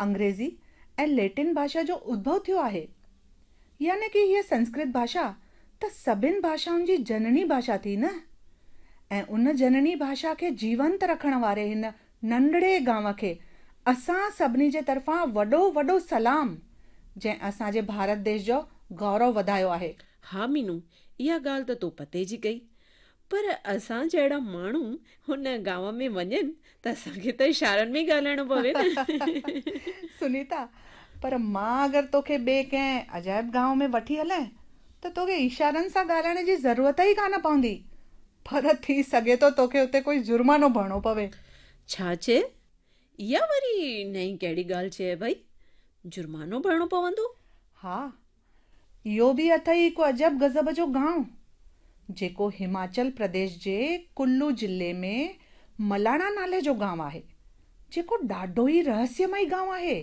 انگريزي ۽ ليٽن ڀاشا جو ادڀو ٿيو آهي. يعني ڪه هيء سنسڪرت ڀاشا ته سڀن ڀاشائن جي جنني ڀاشا ٿي نه؟ ۽ ان جنني ڀاشا کي جيونت رکڻ واري هن ننڍڙي گانء کي اسان سڀني جي طرفان وڏو وڏو سلام، جنهن اسان جي ڀارت ديش جو گورو وڌايو آهي. ها مينو، اها ڳالهه ته تو پتي جي ڪئي. پر اسان جهڙا ماڻهو هن گانء ۾ وڃن ته اسان کي ته اشارن ۾ ئي ڳالهائڻو پوي نه. سنيتا، پر مان اگر توکي ٻئي ڪنهن عجائب گانء ۾ وٺي هلين ته توکي اشارن سان ڳالهائڻ جي ضرورت ئي ڪانه پوندي. پر ٿي سگهي ٿو توکي اتي ڪوئي جرمانو ڀرڻو پوي. ڇا چئي؟ اها وري نئين ڪهڙي ڳالهه چئي ڀئي؟ جرمانو ڀرڻو پوندو؟ ها، اهو به اٿئي هڪ عجب غضب جو گانء، جيڪو هماچل پرديش جي ڪلو ضلعي ۾ ملاڻا نالي جو گانء آهي، جيڪو ڏاڍو ئي رهسيمئي گانء آهي.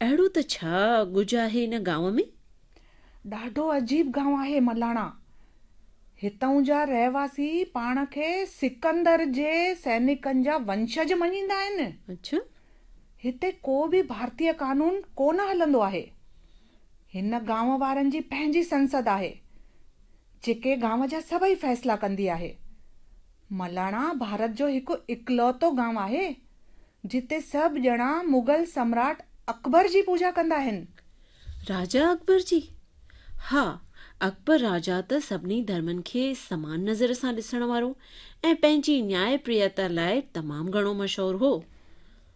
اهڙو ته ڇا ڳجهه آهي ان گانء ۾؟ ڏاڍو عجيب گانء آهي ملاڻا. هتئون جا رهواسي پاڻ کي سڪندر جي سئنڪن جا ونشج مڃيندا آهن. اڇا. هتي ڪو به ڀارتيه قانون ڪونه هلندو آهي. هن گانء وارن جي پنهنجي سنسد آهي، جيڪي گانء جا سڀئي فيصلا ڪندي آهي. ملاڻا ڀارت جو هڪ اڪلوتو گانء آهي، جتي سڀ ڄڻا مغل سمراٽ اڪبر جي پوڄا ڪندا آهن. راجا اڪبر جي؟ ها، اڪبر راجا ته سڀني ڌرمن کي سمان نظر سان ڏسڻ وارو ۽ پنهنجي نياء پريتا لاء تمام گهڻو مشهور هو.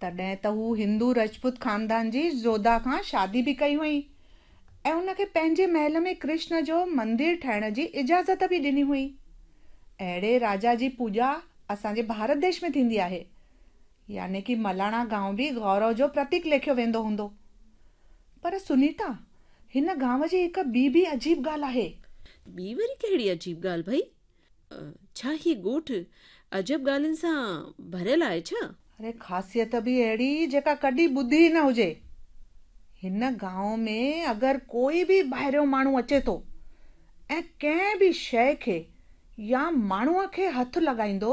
تڏهن ته هو هندو رجپوت خاندان جي جوڌا کان شادي به ڪئي هئائين ۽ ان کي پنهنجي محل ۾ ڪرشن جو مندر ٺاهڻ جي اجازت به ڏني هئائين. اهڙي راجا جي پوڄا اسان جي ڀارت ديش ۾ ٿيندي آهي. يعني ڪي ملاڻا گانء به گورو جو پرتيڪ ليکيو ويندو هوندو. پر سنيتا، هن گانء جي هڪ ٻي به عجيب ڳالهه آهي. ٻي وري ڪهڙي عجيب ڳالهه ڀئي؟ ڇا هي ڳوٺ عجب ڳالهين سان ڀريل آهي ڇا؟ اري خاصيت به اهڙي جيڪا ڪڏهن ٻڌي ئي نه هجي. هن گانء ۾ اگر ڪوئي به ٻاهريون ماڻهو اچي ٿو ۽ ڪنهن به شيء کي يا ماڻهوء کي هٿ لڳائيندو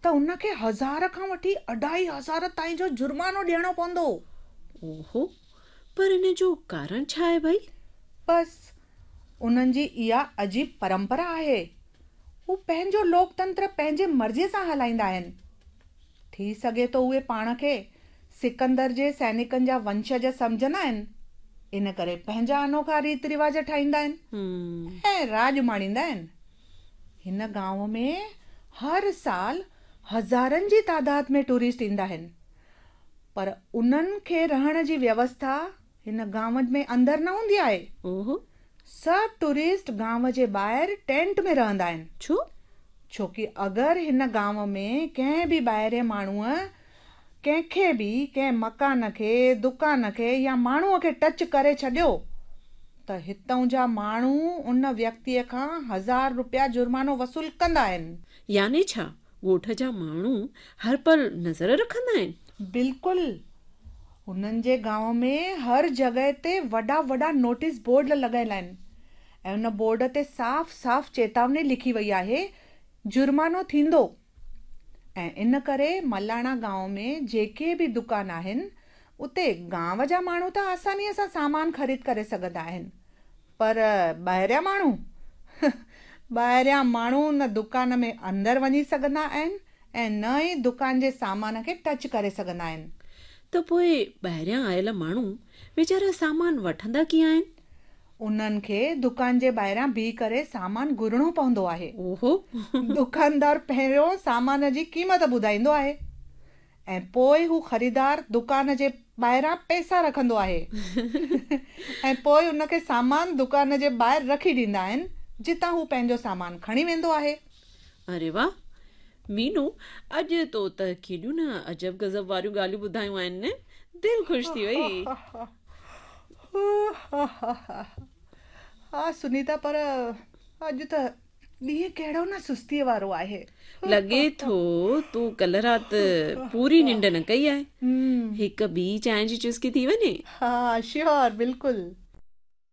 ته ان کي هزار کان وٺي اڍائي هزار تائين جو جرمانو ڏيڻو پوندو. اوهو! پر ان جو ڪارڻ ڇا آهي ڀئي؟ بس انهن جي اها عجيب پرمپرا آهي. هو پنهنجو لوڪ تنتر پنهنجي مرضيء سان هلائيندا آهن. ٿي سگهي ٿو اهي پاڻ کي سڪندر جي سئنڪن جا ونشج سمجهندا آهن، ان ڪري پنهنجا انوکا ريت رواج ٺاهيندا آهن ۽ راڄ ماڻيندا آهن. هن گانء ۾ هر سال هزارن جي تعداد ۾ ٽوئرسٽ ايندا آهن، پر انهن کي رهڻ جي ويوسٿا هن گانء ۾ اندر نه هوندي آهي. اوهو. سڀ ٽوئرسٽ گانء جي ٻاهر ٽينٽ ۾ رهندا آهن. ڇو؟ ڇو ڪي اگر هن گانء ۾ ڪنهن به ٻاهرين ماڻهوء ڪنهن کي به، ڪنهن مڪان کي، دڪان کي يا ماڻهوء کي ٽچ ڪري ڇڏيو ته هتئون جا ماڻهو ان ويڪتيء کان هزار روپيا جرمانو وصول ڪندا آهن. يعني ڇا ڳوٺ جا ماڻهو هر پل نظر رکندا آهن؟ بلڪل. هنن جي گانء ۾ هر جڳهه تي وڏا وڏا نوٽيس بورڊ لڳل آهن ۽ ان بورڊ تي صاف صاف چيتاوني لکي وئي آهي، جرمانو ٿيندو. ۽ ان ڪري ملاڻا گانء ۾ جيڪي به دڪان آهن، اتي گانء جا ماڻهو ته آسانيء سان سامان خريد ڪري سگهندا آهن، پر ٻاهريان ماڻهو؟ ٻاهريان ماڻهو نه دڪان ۾ اندر وڃي سگهندا آهن ۽ نه ئي دڪان جي سامان کي ٽچ ڪري سگهندا آهن. ته پوء ٻاهريان آيل ماڻهو ويچارا سامان وٺندا ڪيئن آهن؟ انهن کي دڪان جي ٻاهران بيهي ڪري سامان گهرڻو پوندو آهي. اوهو! دڪاندار پهريون سامان جي قيمت ٻڌائيندو آهي ۽ پوء هو خريدار دڪان جي ٻاهران پئسا رکندو آهي ۽ پوء ان کي سامان دڪان جي ٻاهر رکي ڏيندا آهن جتان هو پنهنجو سامان کڻي ويندو آهي. اري واه! مينو اڄ تو ته ڪيڏيون نه عجب غضب واريون ڳالهيون ٻڌايون آهن نه، دل خوش ٿي وئي. ها سنيتا پر اڄ ته ڏينهن ڪهڙو نه سستيء وارو آهي. لڳي ٿو تو ڪلهه رات پوري ننڊ نه ڪئي آهي. هڪ ٻي چانهه جي چسڪي ٿي وڃي. ها شيور بلڪل.